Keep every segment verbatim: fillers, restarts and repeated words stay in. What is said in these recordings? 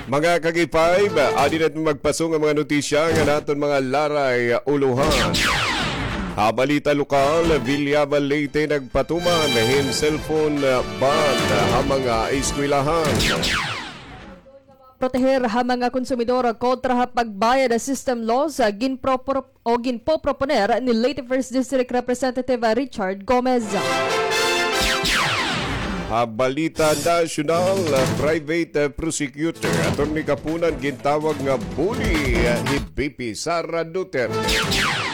Mga ka-K five, adi na it magpaso nga mga notisya nga aton mga laray ulohan. Ha balita lokal, Villaba, Leyte nagpatuman hin cellphone ban ha mga eskwelahan. Proteher ha mga konsumidor kontra ha pagbayad ha system loss, ginpropro-, o ginpoproponer ni Leyte First District Representative Richard Gomez. Ha balita nasyonal, private prosecutor, Attorney Kapunan, gintawag nga bully hi V P Sara Duterte.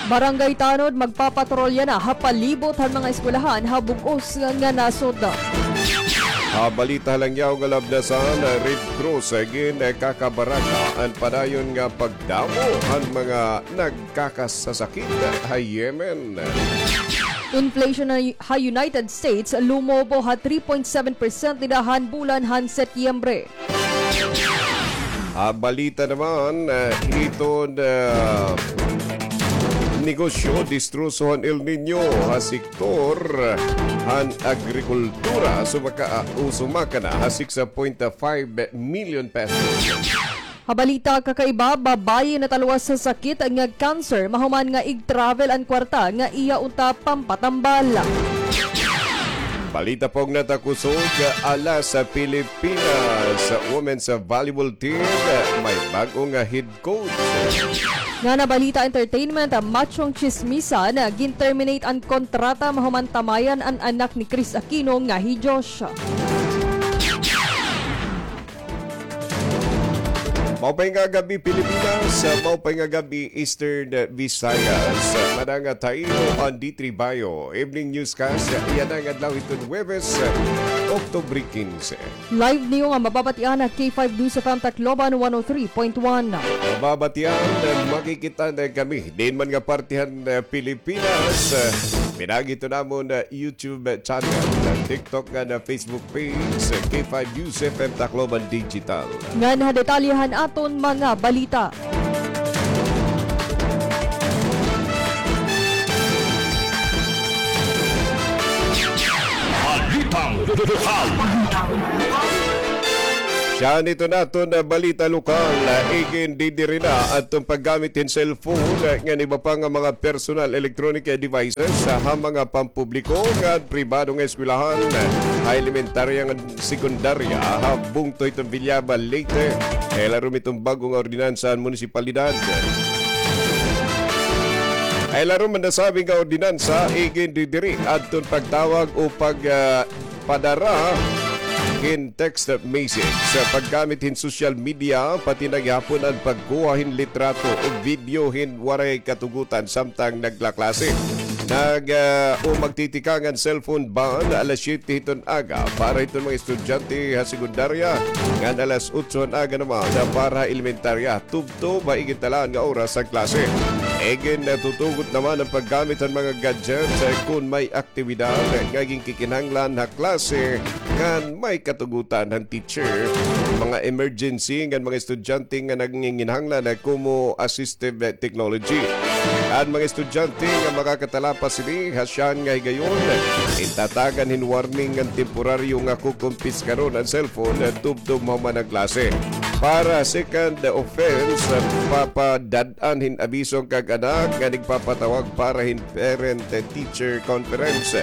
Barangay Tanod magpapatrolya na ha palibot han mga eskwelahan ha bug-os nga nasod. Ha balita ha langyaw nga labnasan, Red Cross, ginakakabaraka an padayon nga pagdamo han mga nagkakasasakit ha Yemen. Inflation ha United States lumobo ha three point seven percent dida han bulan han Setyembre. Ha balita naman, eh, hiton, eh, negosyo, distroso han El Niño ha sektor han agrikultura, sumaka, ah, o sumaka na ha six point five million pesos. Ha balita kakaiba, babaye natalwas ha sakit nga cancer mahuman nga ig-travel an kwarta nga iya unta pampatambal. Balita pa nga natakusog, ala sa Pilipinas Women's Volleyball Team may bag-o nga head coach. Nga na balita entertainment, machong tsismisan, gin-terminate an kontrata mahuman tamayan an anak ni Chris Aquino nga hi Josh. Maupay nga gab-i, Pilipinas. Maupay nga gab-i, Eastern Visayas. Madang tayo an D three Bio Evening Newscast. Yana nga adlaw hiton Huwebes, Oktubre kinse. Live niyo nga mababatian ha K five News F M Tacloban one oh three point one. Mababatian, makikita na kami diin man nga parte han, eh, Pilipinas. Pinaagi hiton amon, eh, YouTube channel, TikTok ngan Facebook page, K five News F M Tacloban Digital. Ngan ha detalye han aton mga balita. Balitang lokal. Siya nito naton, ah, balita lokal, ah, igindidiri na adton paggamit hin cellphone, ah, ngan iba pa nga mga personal electronic, ah, devices, ah, ha mga pampubliko ngan pribado nga eskwelahan, ah, ha elementarya ngan sekundarya, ah, ha bungto hiton Villaba, Leyte. Kay larom hiton bag-o nga ordinansa han munisipalidad. Kay larom han nasabi nga ordinansa, igindidiri adton pagtawag o pag, ah, padara hin text message, paggamit hin social media, pati na gihapon an pagkuha hin litrato o video hin waray katugutan samtang naglaklase. Nag, ah, o magtitikang an cellphone ban alas siyete hiton aga para hiton mga estudyante ha sekundarya, ngan alas otso han aga naman para ha elementarya, tubtob ha igintalaan nga oras han klase. Igin, ah, tutugot naman an paggamit han mga gadgets, ah, kon may aktibidad nga ginkikinahanglan ha klase ngan may katugutan han teacher, mga emergency ngan mga estudyante nga nanginginahanglan han kumo assistive technology. An mga estudyante nga makakatalapas hini ha siyahan nga higayon, gintatagan hin warning ngan temporaryo nga kukumpiskaron an cellphone tubtob mahuman an klase. Para second offense, papadad-an hin abiso an kag-anak nga nagpapatawag para hin parent-teacher conference.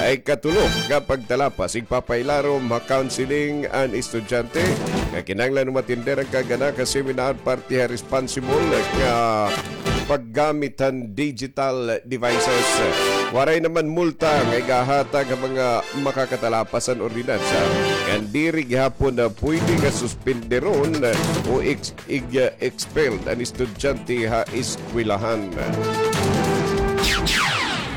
Ha ikatulo nga pagtalapas, igpapailarom ha counseling an estudyante nga kinahanglan umatender an kag-anak ha seminar parte ha responsible nga paggamit han digital devices. Waray naman multa nga igahatag ha mga makakatalapas han ordinansa, ngan diri gihapon na pwede nga suspenderon o ex-, ig-, expelled an estudyante ha eskwelahan.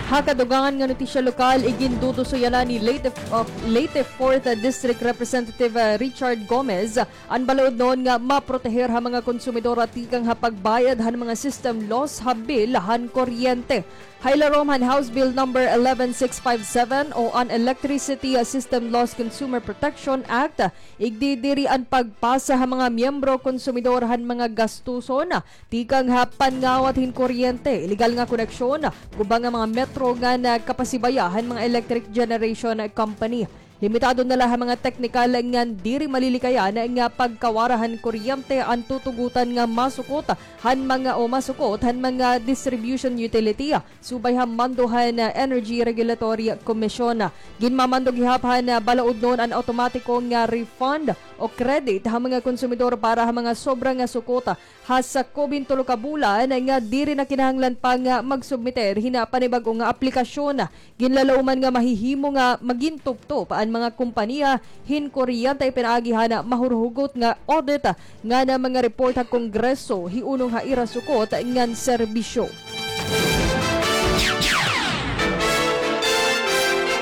Ha kadugangan nga notisya lokal, iginduduso yana ni Leyte, uh, Leyte Fourth District Representative, uh, Richard Gomez an balaudnon nga maproteher ha mga konsumidor tikang ha pagbayad han mga system loss ha bill han kuryente. Ha ilarom han House Bill Number eleven six five seven o an Electricity System Loss Consumer Protection Act, igdidiri an pagpasa ha mga miyembro konsumidor han mga gastuson tikang ha panngawat hin kuryente, ilegal nga koneksyon, guba nga mga metro ngan kapasibaya han mga electric generation company. Limitado na la ha mga teknikal ngan diri malilikayan nga pagkawara han kuryente an tutugotan nga masukot han mga, o masukot han mga distribution utility, subay ha mando han Energy Regulatory Commission. Ginmamando gihap han balaudnon an awtomatiko nga refund o credit ha mga konsumidor para ha mga sobra nga sukot ha sakubing tulo ka bulan nga diri na kinahanglan pa nga magsubmiter hin panibag-o nga aplikasyon. Ginlalauman nga mahihimo nga magin tuptop an mga kompanya hin kuryente pinaagi han mahurhugot nga audit ngan mga report ha Kongreso hiunong ha ira sukot ngan serbisyo.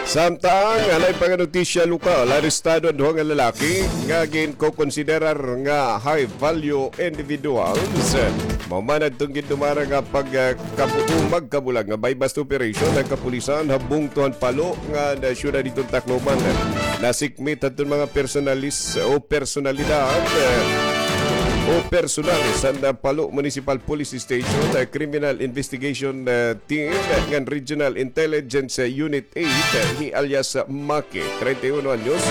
Samtang, ha lain pa nga notisya lokal, arestado an duha nga lalaki nga ginkokonsiderar nga high value individuals. Mahuman adton gindumara nga pag, ah, kabu-, magkabulag nga buy-bust operation han kapulisan ha bungto han Palo nga syudad hiton Tacloban. Nasikmit hadton mga personalis o personalidad, eh, o personalis han, ah, Palo Municipal Police Station, ah, Criminal Investigation, ah, Team, ah, ngan Regional Intelligence, ah, Unit eight, ah, hi alias Maki, treinta y uno anyos,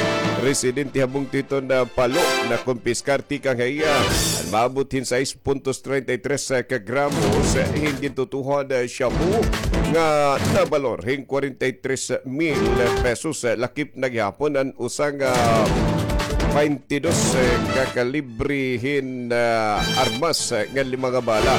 residente ha bungto hiton, ah, Palo, nakumpiskar tikang ha iya an maabot hin sais puntos treinta y tres ka gramos hin gintutuhod, ah, shabu nga nabalor hin kwarenta y tres mil pesos, ah, lakip na gihapon an usa nga baynte dos, ah, ka kalibre hin, ah, armas, ah, nga lima nga bala.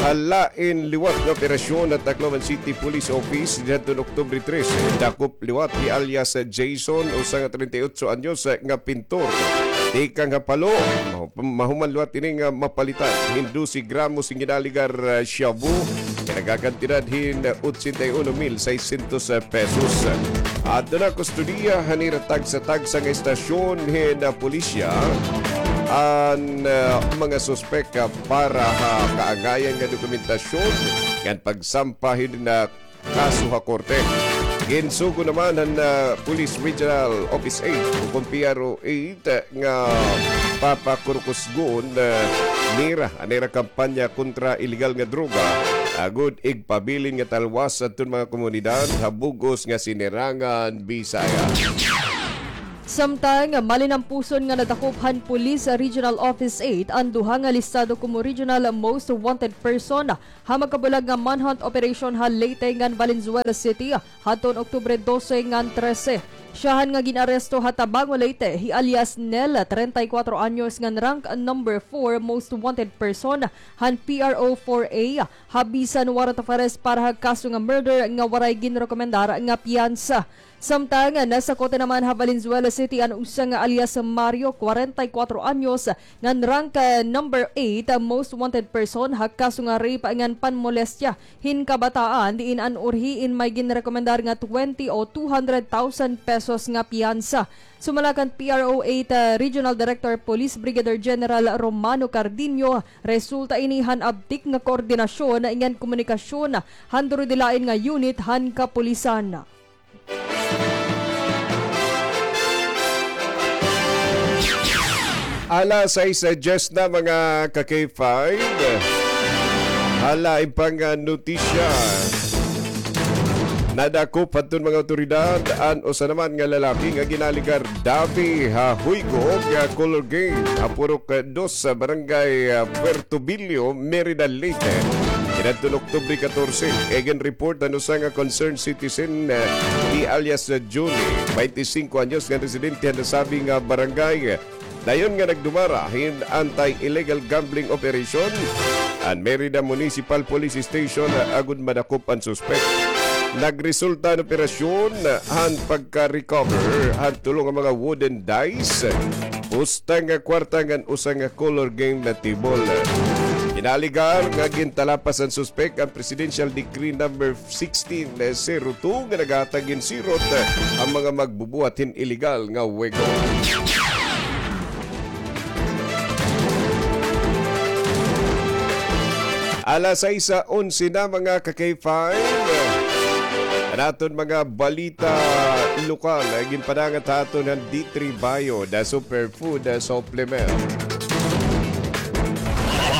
Ha lain liwat nga operasyon han Tacloban City Police Office dinhadton Oktubre trese, dakop liwat hi alias Jason, usa nga treinta y ocho anyos, ah, nga pintor. Tikang ha Palo, mahu-, mahuman liwat ini nga mapalitan hin dose gramos hin ginaligar, ah, shabu nga nagakantidad hin ochenta y uno mil seiscientos pesos. Adto na kustodiya han ira tagsa-tagsa nga estasyon hin, ah, pulisya an, ah, mga suspek, ah, para ha kaangayan nga dokumentasyon ngan pagsampa hin, ah, kaso ha korte. Ginsugo naman han, ah, Police Regional Office eight o kon P R O eight, ah, nga papakurukusgon, ah, nira an ira kampanya kontra iligal nga droga, agod igpabilin nga talwas adton mga komunidad ha bug-os nga Sinirangan Bisaya. Samtang, malinampuson nga nadakop han Police Regional Office eight an duha nga listado komo regional most wanted person ha magkabulag nga manhunt operation ha Leyte ngan Valenzuela City hadton Oktubre dose ngan trese. Syahan nga gin-aresto ha Tabango, Leyte, hi alias Nel, treinta y cuatro anyos, ngan rank number four most wanted person han P R O four A ha bisan warrant of arrest para ha kaso nga murder nga waray ginrekomendar nga piyansa. Samtang, nasakot naman ha Valenzuela City an usa nga alias Mario, kwarenta y kwatro anyos, ngan rank, ah, number eight, ah, most wanted person ha kaso nga rape ngan panmolestya hin kabataan, diin an urhiin may ginrekomendar nga twenty o two hundred thousand pesos nga piyansa. Sumala kan P R O eight, ah, Regional Director Police Brigadier General Romano Cardiño, resulta ini han abtik nga koordinasyon ngan komunikasyon han durudilain nga unit han kapulisan. Alas sais diyes na, mga ka-K five. Hala, iba nga notisya. Nadakop hadton mga awtoridad an usa naman nga lalaki nga ginaligar dabi ha huygo nga color game ha Purok Dos, Barangay, ah, Puerto Billo, Merida, Leyte. Inadton Oktubre katorse, igin-report han usa nga concerned citizen, ah, hi alias, ah, Julie, baynte singko anyos, nga residente han nasabi nga barangay. Dayon nga nagdumara hin anti-illegal gambling operation an Merida Municipal Police Station, ah, agod madakop an suspek. Nagresulta an operasyon han pagka-recover han tulo nga mga wooden dice, pusta nga kwarta ngan usa nga color game na table. Ginaligar nga gintalapas han suspek an Presidential Decree number sixteen zero two nga naghatag hin sirot han mga magbubuhat hin iligal nga wego. Alas sais onse na, mga ka-K five. An aton mga balita lokal, ah, ginpadangat ha aton han D three Bio, the superfood, ah, supplement.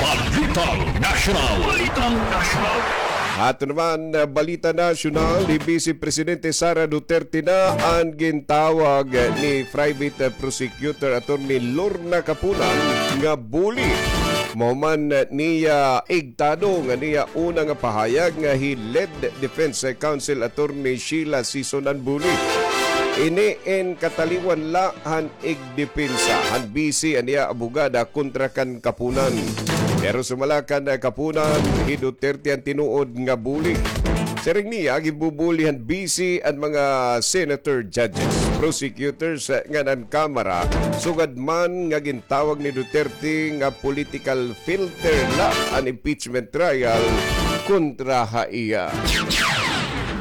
Balitang Nasyonal. Balitang Nasyonal. Ato naman, ah, balita nasyonal, hi Vice Presidente Sara Duterte na an gintawag ni Private Prosecutor Attorney Lorna Kapunan nga buli. Mahuman niya igtado nga niya una nga pahayag nga hi lead Defense Counsel Attorney Sheila Sison an buli. Ini in kataliwan la han igdepensa han bisi an iya abogada kontra kan Kapunan. Pero sumala kan Kapunan, hi Duterte an tinuod nga buli. Siring niya, ginbubuli han bisi an mga senator, judges, prosecutors, eh, ngan an Kamara, sugad man nga gintawag ni Duterte nga political filter la an impeachment trial kontra ha iya.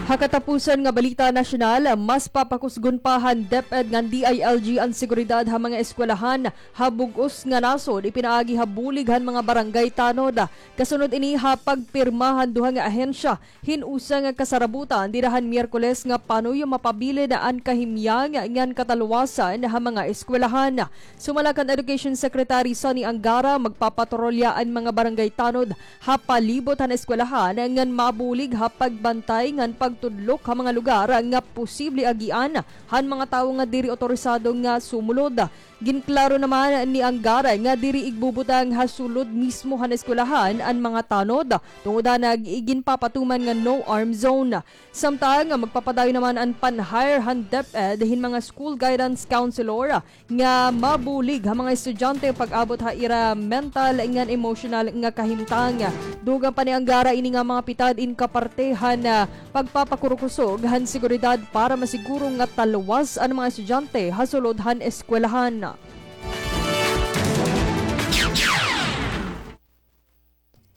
Ha katapusan nga balita nasyonal, mas papakusgon pa han DepEd ngan DILG an seguridad ha mga eskwelahan ha bug-os nga nasod, ipinaagi ha bulig han mga barangay tanod. Kasunod ini ha pagpirma han duha nga ahensya hin usa nga kasarabutan dida han Miyerkules nga panuyo mapabilin an kahimyang ngan katalwasan ha mga eskwelahan. Sumala kan Education Secretary Sonny Angara, magpapatrolya an mga barangay tanod ha palibot han eskwelahan ngan mabulig ha pagbantay ngan pagtudlok ha mga lugar nga posible agian han mga tawo nga diri otorisado nga sumulod. Ginklaro naman ni Angara nga diri igbubutang ha sulod mismo han eskwelahan an mga tanod tungod ha nag-iginpapatuman nga no arm zone. Samtang magpapadayon naman an pan-hire han DepEd hin mga school guidance counselor nga mabulig ha mga estudyante pag-abot ha ira mental ngan emosyonal nga kahimtang. Dugang pa ni Angara, ini nga mga pitad in kaparte han, ah, pagpapakurukusog han seguridad para masiguro nga talwas an mga estudyante ha sulod han eskwelahan.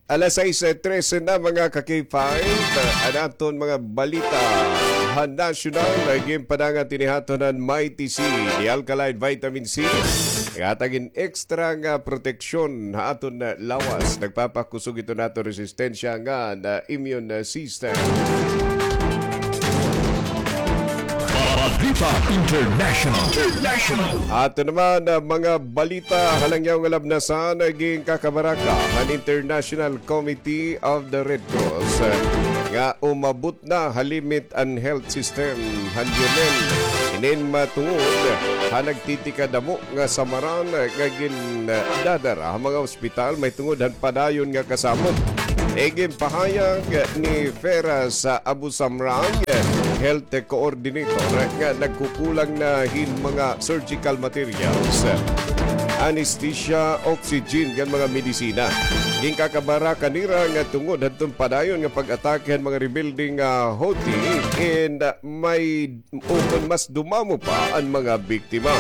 Alas sais trese na, mga ka-K five, an aton mga balita ha nasyonal. Ginpadangat ini ha aton han Mighty C, the alkaline vitamin C. Naghatag hin extra nga proteksyon ha aton lawas. Nagpapakusog ito naton resistensya ngan immune system. Balita International. International. Ato naman, ah, mga balita ha langyaw nga labnasan, ah, ginkakabaraka han International Committee of the Red Cross, ah, nga umabot na ha limit an health system han Yemen. Inin matungod ha nagtitikadamo nga samaran, ah, nga gindadara ha mga ospital mahitungod han padayon nga kasamok. Iginpahayag ni Feras Abu Samrang, health coordinator, nga nagkukulang na hin mga surgical materials, anesthesia, oxygen, ngan mga medisina. Ginkakabaraka nira nga tungod hadton padayon nga pag-atake han mga rebelde nga Houthi, and, ah, may ukon mas dumamo pa an mga biktima.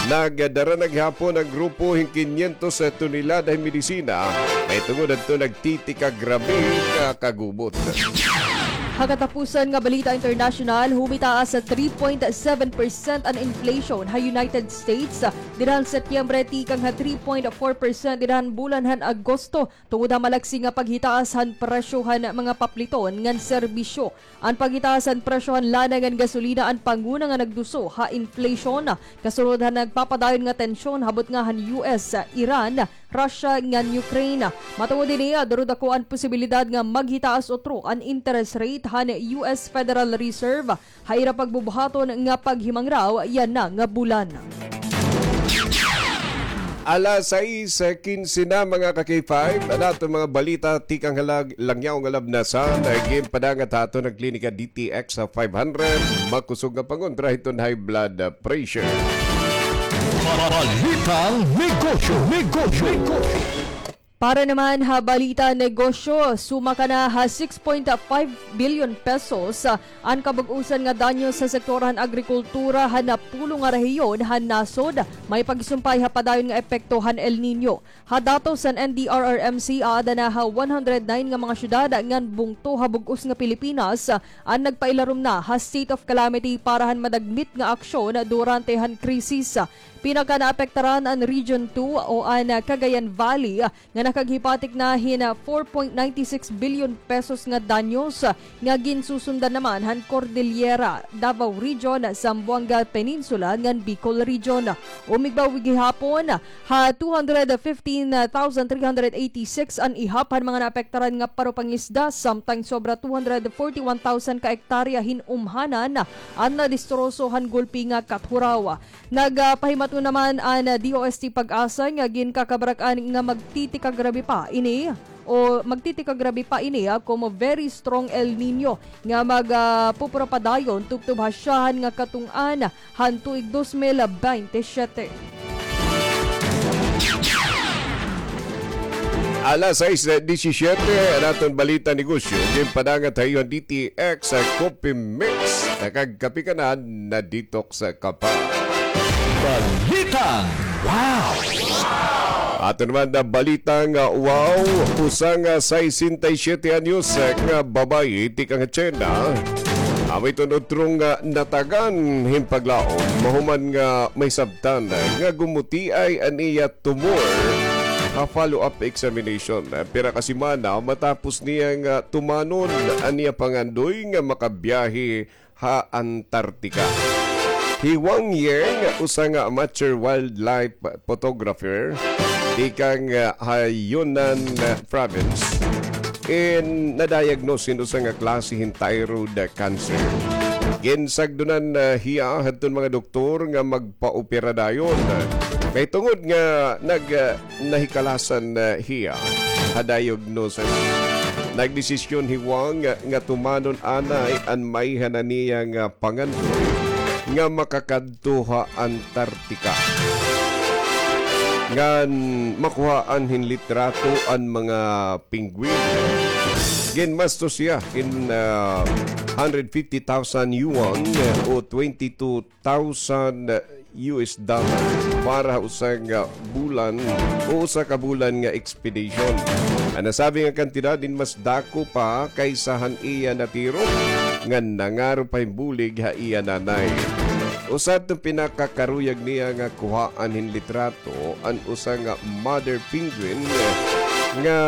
Nagdara na gihapon an grupo hin kinyentos tonelada hin medisina, mahitungod hadton nagtitikagrabe nga kagubot. Ha katapusan nga balita internasyonal, humitaas sa three point seven percent an inflation ha United States dida han Setyembre tikang ha three point four percent dida han bulan han Agosto, tungod ha malaksi nga paghitaas han presyo han mga papliton ngan serbisyo. An paghitaas han presyo han lana ngan gasolina an panguna nga nagduso ha inflation, kasunod han nagpapadayon nga tensyon ha butnga han U S, Iran, Russia ngan Ukraine. Matungod hini, duro dako an posibilidad nga maghitaas utro an interest rate han U S Federal Reserve ha ira pagbubuhaton nga paghimangraw yana nga bulan. Alas sais kinse na, mga ka-K five, an aton mga balita tikang ha lag-, langyaw nga labnasan, ginpadangat ha aton han Klinika D T X five hundred, makusog nga pangontra hiton high blood pressure. Balitang negosyo, negosyo, negosyo. Para naman ha balita negosyo, sumaka na ha six point five billion pesos, ah, an kabug-osan nga danyos ha sektor han agrikultura han napulo nga rehiyon han nasod, may pagsumpay ha padayon nga epekto han El Niño. Ha datos han N D R R M C, aada na ha one hundred nine nga mga syudad ngan bungto ha bug-os nga Pilipinas, ah, an nagpailarom na ha state of calamity para han madagmit nga aksyon durante han krisis. Pinakanaapektaran an Region two o an Cagayan Valley nga nakaghipatik na hin four point nine six billion pesos nga danyos nga ginsusundan naman han Cordillera, Davao Region, Zamboanga Peninsula ngan Bicol Region. Umigbaw gihapon ha two hundred fifteen thousand three hundred eighty-six an ihap han mga naapektaran nga paro-pangisda, samtang sobra two hundred forty-one thousand ka ektarya hin umhanan an nadistroso han gulpi nga kathuraw. Nagpahimaton naman an D O S T PAGASA nga ginkakabarak-an nga magtitikagrabe pa ini o magtitikagrabe pa ini, ah, komo very strong El Niño nga mag, ah, pupura padayon tubtob ha syahan nga katun-an han tuig dos mil bente siyete. Alas sais disisyete, an aton balita negosyo, ginpadangat ha iyo han D T X, ah, Coffee Mix. Nakagkape ka na, na-detox ka pa. Balitang wow! Aton naman na balitang wow, usa nga sesenta y siyete anyos nga babayi tikang ha China. Amo iton utro nga natagan hin paglaom, mahuman nga mahisabtan nga gumutiay an iya tumor ha follow-up examination. Pira ka semana matapos niya nga tumanon an iya pangandoy nga makabiyahe ha Antarctica. Hi Wang Ying, usa nga amateur wildlife photographer, tikang, ah, ha Yunnan, ah, province, in na-diagnose hin usa nga klase hin thyroid cancer. Ginsagdonan, ah, hiya hadton mga doktor nga magpaopera dayon. Mahitungod nga nag, ah, nahikalasan, ah, hiya ha diagnosis. Nagdesisyon hi Wang nga tumanon anay an maiha na niya nga pangandoy nga makakadto ha Antarctica ngan makuhaan hin litrato an mga penguin. Ginmastos hiya hin, ah, hundred fifty thousand yuan o twenty-two thousand U S dollar para ha usa nga bulan o usa ka bulan nga expedition. An nasabi nga kantidad in mas dako pa kaysa han iya natiro nga nangaro pa hin bulig ha iya nanay. Usa hadton pinakakaruyag niya nga kuhaan hin litrato an usa nga mother penguin nga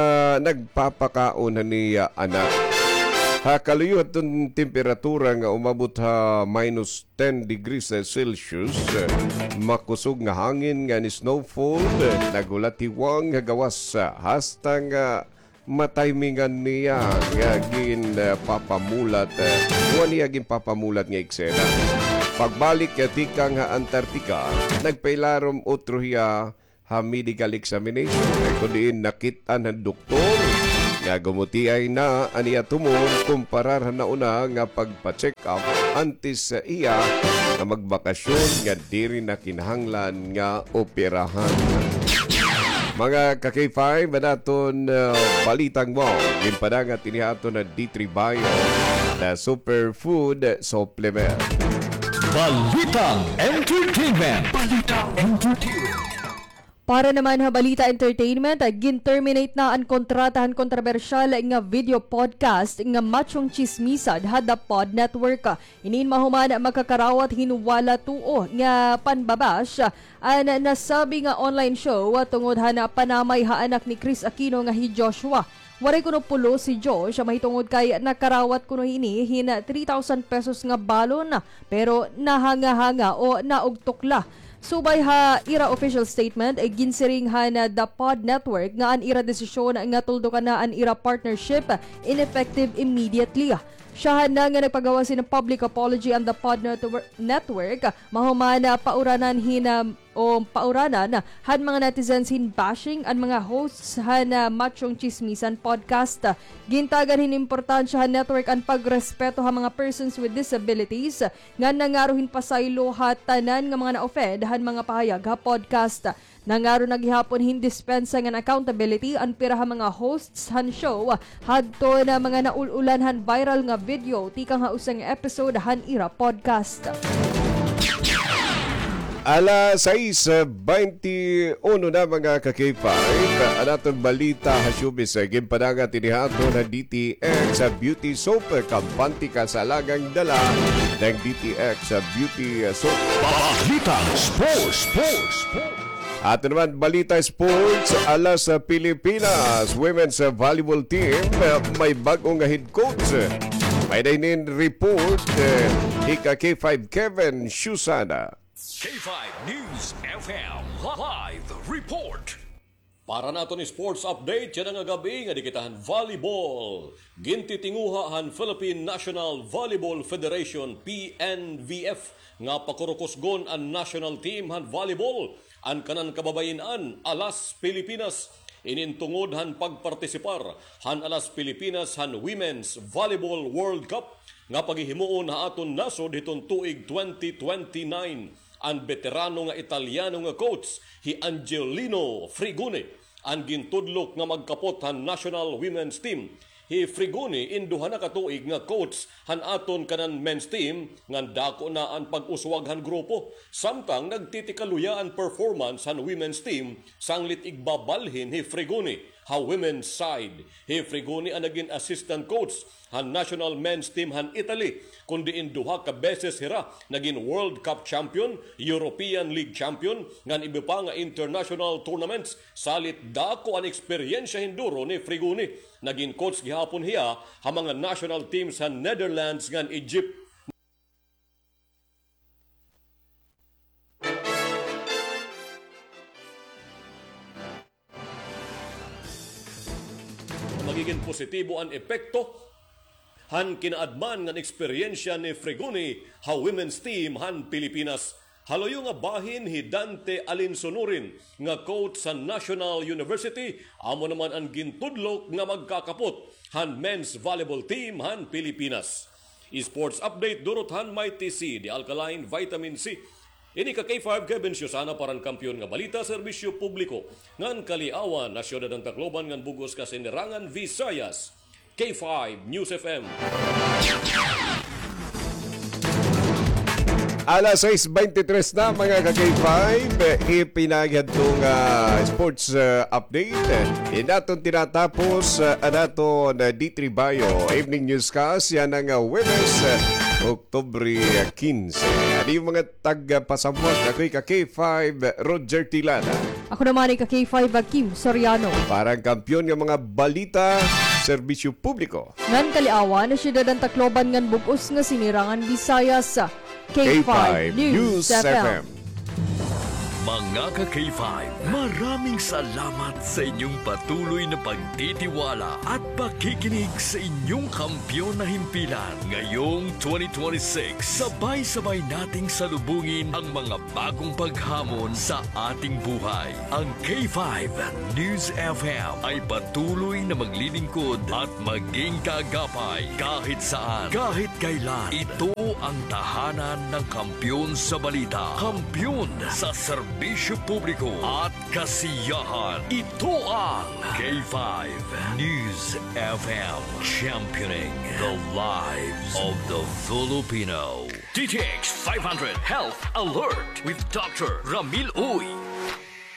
nagpapakaon han iya anak. Ha kaluyo hadton temperatura nga umabot ha minus ten degrees Celsius, makusog nga hangin ngan snowfall, naghulat hi Wang nga gawas hasta nga matimingan niya nga ginpapamulat, o an iya ginpapamulat nga eksena. Pagbalik tikang ha Antarctica, nagpailarom utro hiya ha medical examination, kun diin nakit-an han doktor nga gumutiay na an iya tumor kumparar han nauna nga pagpa-check up antes sa iya nga magbakasyon nga diri na kinahanglan nga operahan. Mga ka-K five, an aton, ah, balitang wow, ginpadangat ini ha aton na D three Bio na superfood supplement. Balitang entertainment. Balitang entertainment. Para naman ha balita entertainment, gin-terminate na an kontrata han kontrobersyal nga video podcast nga Machong Chismisan ha The Pod Network. Ini in mahuman makakarawat hin wala tuo nga panbabash an nasabi nga online show tungod han panamay ha anak ni Kris Aquino nga hi Joshua. Waray kuno pulos si Josh mahitungod kay nakarawat kuno ini hin three thousand pesos nga balon, pero nahanga-hanga o naugtok la. Subay ha ira official statement, ginsiring han The Pod Network nga an ira desisyon nga tuldukan na an ira partnership ineffective immediately. Syahan na nga nagpagawas hin public apology an The Pod Networ-, Network, mahuman pauranan hin, o pauranan han mga netizens hin bashing an mga hosts han, ah, Machong Chismisan podcast. Gintagan hin importansya han network an pagrespeto ha mga persons with disabilities nga nangaro hin pasaylo ha tanan nga mga na-offend han mga pahayag ha podcast. Nangaro na gihapon hin dispensa ngan accountability an pira ha mga hosts han show hadton mga naul-ulan han viral nga video tikang ha usa nga episode han ira podcast. Alas sais baynte uno na, mga ka-K five. An aton balita ha showbiz, eh, ginpadangat ini ha aton ha D T X, ah, Beauty Soap, eh, kampante ka sa alagang dala ng D T X, ah, Beauty, ah, Soap. Balitang Sports, Sports, Sports. Aton naman balita sports, alas sa Pilipinas, women's, ah, volleyball team, ah, may bag-o nga head coach. May-ada hinin report, eh, ni ka-K five Kevin Susana. K five News F M live report. Para naton sports update yana nga gab-i, ngadi kita han volleyball. Gintitinguha han Philippine National Volleyball Federation, P N V F, nga pakurukusgon an national team han volleyball, an kanan kababayin-an, alas Pilipinas. Inin tungod han pagpartisipar han alas Pilipinas han Women's Volleyball World Cup nga paghihimuon ha aton nasod hiton tuig twenty twenty-nine. An beterano nga Italyano nga coach, hi Angelino Frigoni, an gintudlok nga magkapot han national women's team. Hi Frigoni, in duha na ka tuig nga coach han aton kanan men's team, ngan dako na an pag-uswag han grupo. Samtang nagtitikaluya an performance han women's team, sanglit igbabalhin hi Frigoni ha women's side. Hi Frigoni an nagin assistant coach han national men's team han Italy, kundi in duha ka beses hira nagin World Cup champion, European League champion, ngan iba pa nga international tournaments. Salit dako an eksperyensya hinduro ni Frigoni. Nagin coach gihapon hiya ha mga national teams han Netherlands ngan Egypt. Magigin positibo an epekto han kinaadman ngan eksperyensya ni Frigoni ha women's team han Pilipinas. Ha luyo nga bahin, hi Dante Alinsonurin nga coach sa National University, amo naman an gintudlok nga magkakapot han men's volleyball team han Pilipinas. Sports update durot han Mighty C, the alkaline vitamin C. Ini ka K five Kevin Susana para han Kampiyon nga Balita, Serbisyo Publiko, ngan Kaliawan, ha Syudad han Tacloban ngan bug-os nga Sinirangan Visayas. K five News F M. Alas sais baynte tres na, mga ka-K five. Ipinaagi hadto nga sports, uh, update. Ini aton tinatapos, uh, an aton, uh, D three Bio Evening Newscast yana nga, uh, Huwebes, uh, Oktubre, uh, kinse. Ano yung mga tagpasamwat? Ako'y ka-K five, Roger Tilana. Ako naman ay ka-K five, Kim Soriano. Para han Kampiyon nga mga Balita, Serbisyo Publiko, ngan Kaliawan, Syudad han Tacloban ngan bug-os nga Sinirangan Visayas, K five News F M. Mga ka-K five, maraming salamat sa inyong patuloy na pagtitiwala at pakikinig sa inyong Kampiyon na Himpilan. Ngayong twenty twenty-six, sabay-sabay nating salubungin ang mga bagong paghamon sa ating buhay. Ang K five News F M ay patuloy na maglilingkod at maging kaagapay kahit saan, kahit kailan. Ito ang tahanan ng kampiyon sa balita, kampiyon sa serbisyo publiko at kasiyahan. Ito ang K five News F M, championing the lives of the Filipino. D T X five hundred Health Alert with Doctor Ramil Uy.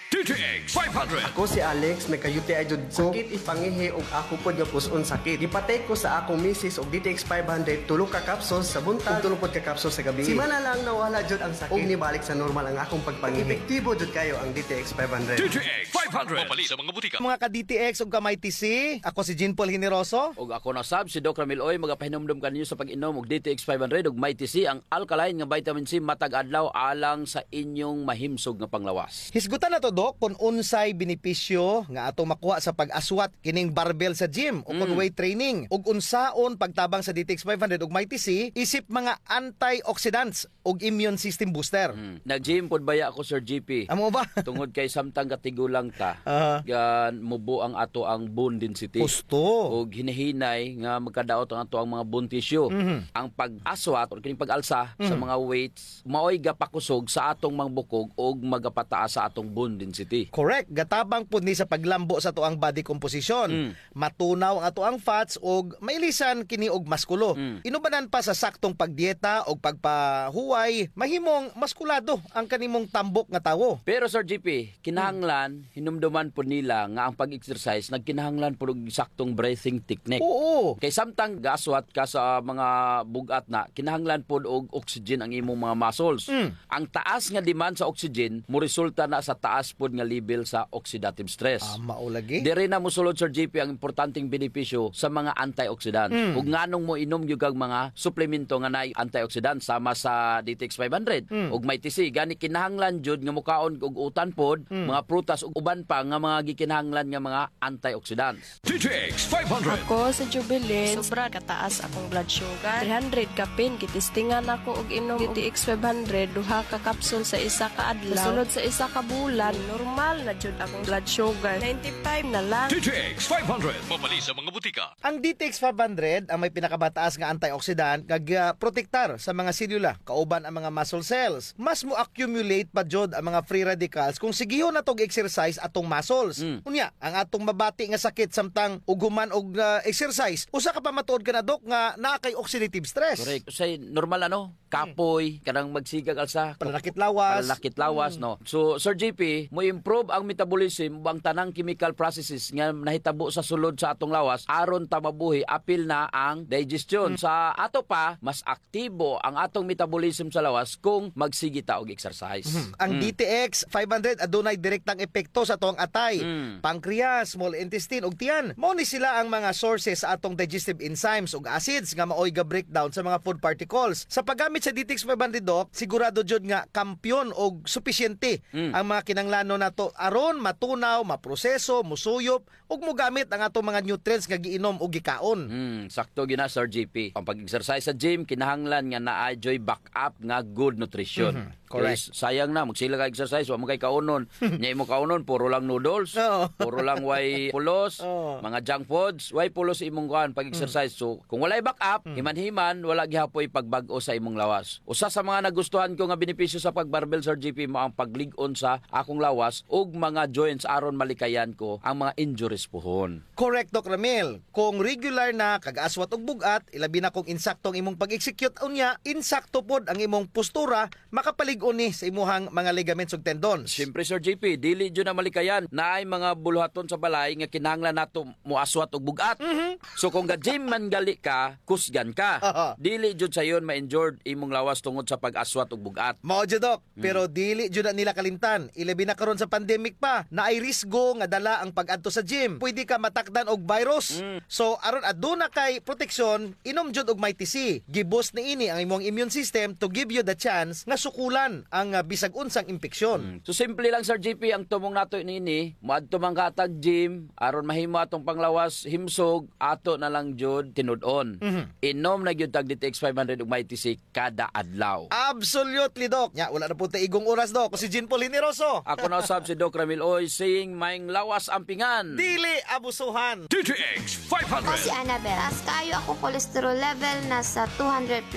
D T X five hundred. Ako si Alex, may ka-U T I jud ko. Sakit it pangihi ug ako pod nga pus-on sakit. Gipatake ko sa akong misis og D T X five hundred, tulo ka capsules sa buntag ug tulo pod ka capsules sa gabii. Simana lang nawala jud ang sakit ug nibalik sa normal ang akong pagpangihi. Epektibo jud kayo ang D T X five hundred. D T X five hundred. Mapalit sa mga butika. Mga ka-D T X ug ka-Mighty C, ako si Jean Paul Generoso. Ug ako na sab, si Doc Ramil Uy, magapahinumdom kaninyo sa pag-inom og D T X five hundred ug Mighty C, ang alkaline nga vitamin C matag adlaw alang sa inyong mahimsog nga panglawas. Hisgutan nato, Doc, kon unsay benepisyo nga atong makuha sa pag-aswat kining barbell sa gym o kon weight training, ug unsaon pagtabang sa D T X five hundred ug Mighty C isip mga antioxidants ug immune system booster. Hmm. Nag-gym pod baya ako, Sir G P. Amo ba? Tungod kay samtang gatigulang ta, Aha. gan mubo ang ato ang bone density. Husto. Ug hinahinay nga magkadaot ang ato ang mga bone tissue. Mhm. Ang pag-aswat or kining pag-alsa sa Mhm. mga weights, maoy gapakusog sa atong mga bukog ug magapataas sa atong bone density. Ti. Correct. Gatabang pud ni sa paglambo sa atoang body composition. Mm. Matunaw ang atoang fats ug mailisan kini og maskulo. Mm. Inubanan pa sa saktong pagdieta ug pagpahuway, mahimong maskulado ang kanimong tambok nga tawo. Pero, Sir G P, kinahanglan, hinumduman pud nila nga ang pag-exercise nagkinahanglan pud og saktong breathing technique. Oo. Kay samtang gaaswat ka sa mga bug-at na, kinahanglan pud og oxygen ang imong mga muscles. Mm. Ang taas nga demand sa oxygen, moresulta na sa taas pud nga level sa oxidative stress. Ah, mao lagi. Diri na mosulod, Sir G P, ang importanteng benepisyo sa mga antioxidants. Mm. Ug nganong moinom gyud kag mga suplemento nga naay antioxidant sama sa D T X five hundred Mm. ug Mighty C. Gani kinahanglan jud nga mokaon og utan pod, Mm. mga prutas ug uban pa nga mga gikinahanglan nga mga antioxidants. D T X five hundred. Ako si Jubilin. Sobra kataas akong blood sugar. Three hundred kapin, gitistingan ako og inom D T X five hundred, duha ka kapsul sa isa ka adlaw. Kasunod sa isa ka bulan, normal na jud akong blood sugar. Ninety-five na lang. D T X five hundred. Mabali sa mga butika. Ang D T X five hundred ang may pinakamataas nga antioxidant nga gaprotektar sa mga selula, kauban ang mga muscle cells. Mas mo-accumulate pa jud ang mga free radicals kung sigihon nato og exercise atong muscles. Mm. Unya, ang atong mabati nga sakit samtang ug human og, ah, exercise, usa ka pamatuod kana, Doc, nga naa kay oxidative stress. Correct. Usahay normal, ano? Kapoy, kanang magsigag alsa. Pananakit lawas. Pananakit lawas, Mm. no? So, Sir G P, mo-improve ang metabolism o ang tanang chemical processes nga nahitabo sa sulod sa atong lawas aron ta mabuhi, apil na ang digestion. Mm. Sa ato pa, mas aktibo ang atong metabolism sa lawas kung magsige ta og exercise. Mhm. Ang Mm. D T X five hundred adunay direktang epekto sa atong atay, Mm. pancreas, small intestine, ug tiyan. Mao ni sila ang mga sources sa atong digestive enzymes ug acids nga maoy ga-breakdown sa mga food particles. Sa paggamit sa D T X five hundred, Doc, sigurado jud nga kampiyon og supisyente Mm. ang mga kinahanglanon nato aron matunaw, maproseso, musuyop, ug mogamit ang atong mga nutrients nga giinom o gikaon. Mm, sakto gyud na, Sir G P. Ang pag-exercise sa gym, kinahanglan nga naa juy backup nga good nutrition. Mhm, correct. Kay sayang na, magsige ka exercise, wa man kay kaunon. Nya imo kaunon, puro lang noodles, Oo. puro lang way pulos, Oo. mga junk foods, way pulos imong kuan pag-exercise. Mm. So, kung walay backup, Mm. himan-himan, wala gihapoy pagbag-o sa imong lawas. Usa sa mga nagustuhan ko nga benepisyo sa pag-barbell, Sir G P, mao ang paglig-on sa akong lawas ug mga joints aron malikayan ko ang mga injuries puhon. Correct, Doc Ramil. Kung regular na kag aswat og bug-at, ilabi na kung insakto ang imong pag-execute, unya, insakto pod ang imong postura, makapalig-on ni sa imuhang mga ligaments ug tendons. Siyempre, Sir G P, dili jud na malikayan. Naay mga buluhaton sa balay nga kinahanglan nato moaswat og bug-at. Mhm. So, kung ga-gym man gali ka, kusgan ka. Aha. Dili jud sayon ma-injured imong lawas tungod sa pag-aswat og bug-at. Mao jud, Doc. Mm. Pero dili jud na nila kalimtan. Ilabi na karon sa pandemic pa, naay risgo nga dala ang pag-adto sa gym. Pwede ka matakdan og virus. Mm. So, aron aduna kay proteksyon, inom jud og Mighty C. Gi-boost niini ang imong immune system to give you the chance nga sukulan ang, ah, bisag unsang impeksyon. Mm. So, simple lang, Sir G P, ang tumong nato niini, moadto man ka hatag gym, aron mahimo atong panglawas, himsog, ato na lang jud tinud-on. Mhm. Inom na gyud tag D T X five hundred ug Mighty C kada adlaw. Absolutely, Doc. Nya, wala na po ta igong oras, Doc. Si Jean Paul Generoso. Ako na usab si Doc Ramil Oy, saying, "Maayong lawas ampingan." Dili abusuhan. D T X five hundred. Ako si Annabel. Taas kaayo ako cholesterol level, nasa two hundred plus.